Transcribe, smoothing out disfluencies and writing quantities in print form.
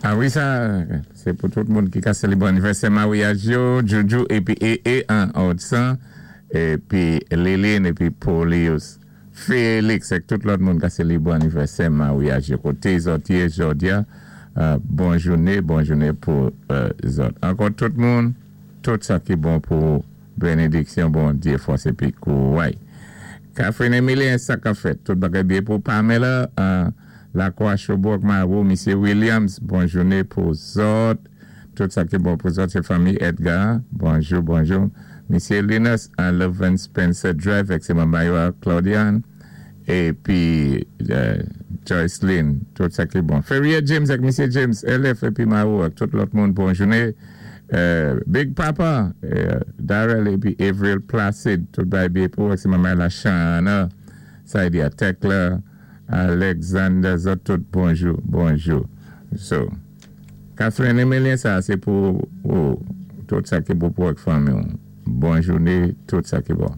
A wi, sa sé pou tout moun ki ka sélébwé anivèsè maryaj yo, Juju épi EE an Odsan, épi Liline épi Polius Félix ak tout lòt moun ka sélébwé anivèsè maryaj yo koté zòt yé jòdi-a. Bon jouné, bon jouné pou zòt. Ankò tout moun, tout sa ki bon pou bénédiksyon Bondyé, fòs épi kouray. Catherine Emilien, sa k-ap fèt? Tout bagay byen pou Pamela Lakwa Chobok Marou, Misyé Williams, bon jouné pou zòt. Tout sa ki bon pou zòt, sé fanmi Edgar. Bonjou, bonjou. Misyé Linus an Leven Spencer Drive ak sé manman yo a Claudiane épi Joyceline. Tout sa ki bon. Ferrier James ak Misyé James LF épi Marou ak tout lòt moun, bon jouné. Big Papa Darrell épi Avril Placide, tout bagay byen pou ak sé manman la Shana Saidia Tekla Alexander, zòt tout bonjou, bonjou. So Catherine Emilien, sa sé pou ou, tout sa ki bon pou ak fanmi ou. Bon jouné, tout sa ki bon.